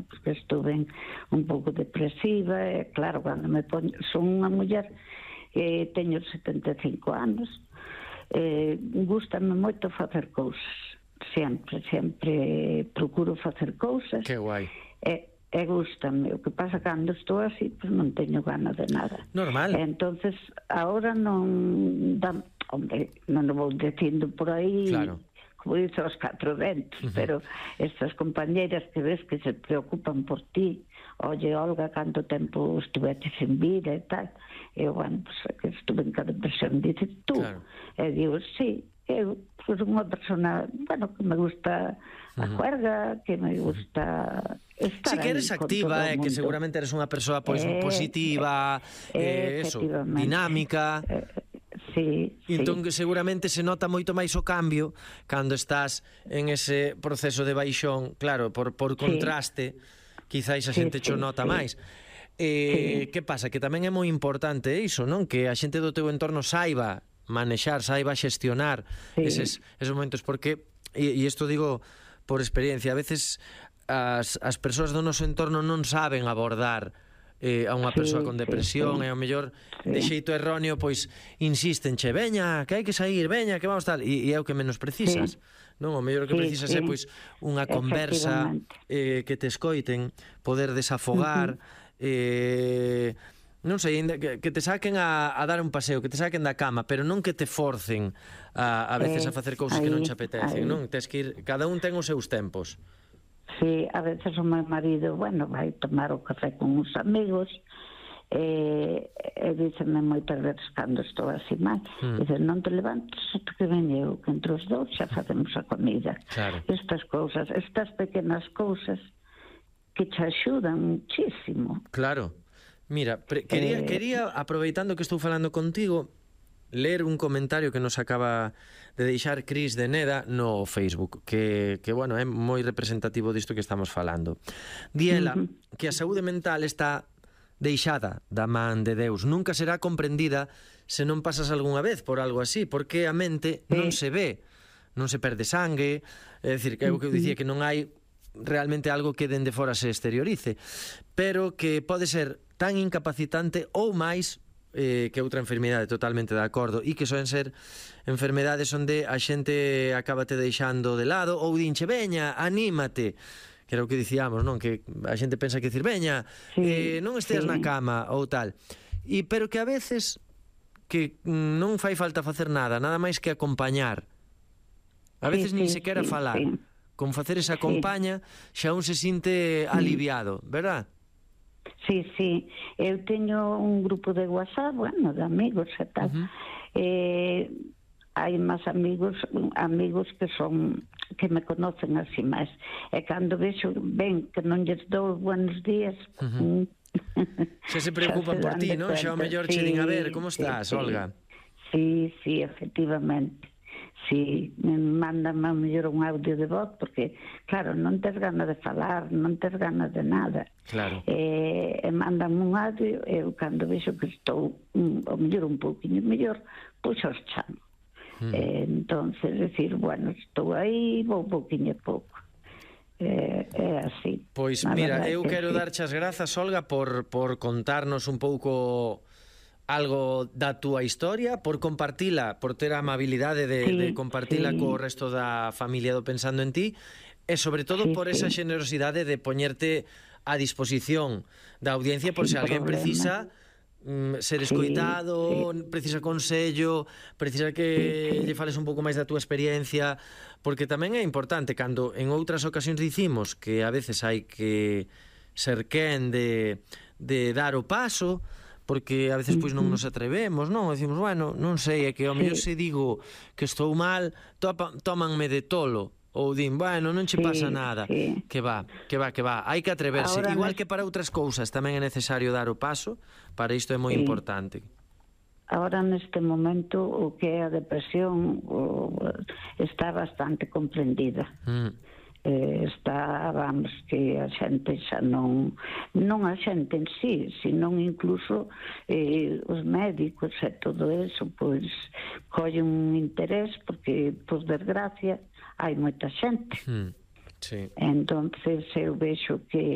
porque estuve un pouco depresiva, e claro, cando me poño, son unha muller, teño 75 anos, gústame moito facer cousas, sempre procuro facer cousas. Que guai. E gústame, o que pasa cando estou así, pues non teño ganas de nada. Normal. Entonces, agora non dá, hombre, non o vou dicindo por aí, claro, como dice os 4 ventos, pero estas compañeiras que ves que se preocupan por ti, oye, Olga, canto tempo estuvete sin vida e tal, e bueno, pues, que estuve en cada depresión, dices tú, claro. E digo, sí, eu pues, unha persona, bueno, que me gusta a juerga, que me gusta estar sí, que eres activa, que seguramente eres unha persoa pois positiva, eso, dinámica. Sí, entón que seguramente se nota moito máis o cambio cando estás en ese proceso de baixón, claro, por contraste, quizáis a xente cho nota máis. Que pasa? Que tamén é moi importante iso, non? Que a xente do teu entorno saiba manexar, saiba xestionar esos momentos, porque, e isto digo por experiencia, a veces as persoas do noso entorno non saben abordar a unha persoa con depresión, e ao mellor de xeito erróneo pois insístenche, veña, que hai que sair, veña, que vamos tal, e é o que menos precisas, non? O mellor que precisas é pois unha conversa, que te escoiten, poder desafogar, non sei, que te saquen a dar un paseo, que te saquen da cama, pero non que te forcen a veces a facer cousas que non te apetecen, non? Tes que ir, cada un ten os seus tempos. Sí, a veces o meu marido, bueno, vai tomar o café con uns amigos, e dícenme moitas veces cando estou así mal, dicen, non te levantes ata que veñe eu, que entre os dous xa facemos a comida. Claro. Estas cousas, estas pequenas cousas que te axudan muchísimo. Claro. Mira, quería, aproveitando que estou falando contigo, ler un comentario que nos acaba de deixar Cris de Neda no Facebook, que bueno, é moi representativo disto que estamos falando. Diela que a saúde mental está deixada da man de Deus, nunca será comprendida se non pasas algunha vez por algo así, porque a mente non se ve, non se perde sangue, é dicir, que é o que eu dicía, que non hai realmente algo que dende fora se exteriorice, pero que pode ser tan incapacitante ou máis que outra enfermidade, totalmente de acordo, e que soen ser enfermedades onde a xente acaba te deixando de lado ou dinche, veña, anímate, que era o que dicíamos, non? Que a xente pensa que dicir, veña, non esteas na cama ou tal, pero que a veces que non fai falta facer nada máis que acompañar, a veces nin sequera falar, con facer esa compaña xa un se sinte aliviado, verdad? Sí, eu teño un grupo de WhatsApp, bueno, de amigos e tal, hai máis amigos que me conocen así máis, e cando vexo ben que non lles dou buenos días, xa se preocupan por ti, non? Xa o mellor che din, a ver, como estás, Olga? Sí, efectivamente. Sí, me mandan ao mellor un audio de voz, porque, claro, non tes ganas de falar, non tes ganas de nada. Claro. E mandan un audio, e eu cando vexo que estou ao mellor un pouquinho mellor, pois os chamo. Entonces, decir, bueno, estou aí, vou pouquinho a pouco. É así. Pois, mira, eu quero darche as grazas, Olga, por contarnos un pouco algo da túa historia, por compartila, por ter a amabilidade de compartila co resto da familia do Pensando en Ti, e sobre todo por esa generosidade de poñerte a disposición da audiencia por se alguén precisa ser escoitado, precisa consello, precisa que lle fales un pouco máis da túa experiencia, porque tamén é importante, cando en outras ocasións dicimos que a veces hai que ser quen de dar o paso, porque a veces pois non nos atrevemos, non? Decimos, bueno, non sei, é que ao mellor se digo que estou mal, tómanme de tolo, ou din, bueno, non che pasa nada. Que va, hai que atreverse. Igual que para outras cousas tamén é necesario dar o paso, para isto é moi importante. Ahora, neste momento, o que é a depresión está bastante comprendida. Está, vamos, que a xente xa non a xente en sí, senón incluso os médicos e todo eso, pois collen un interés, porque, por desgracia, hai moita xente. Entonces eu vexo que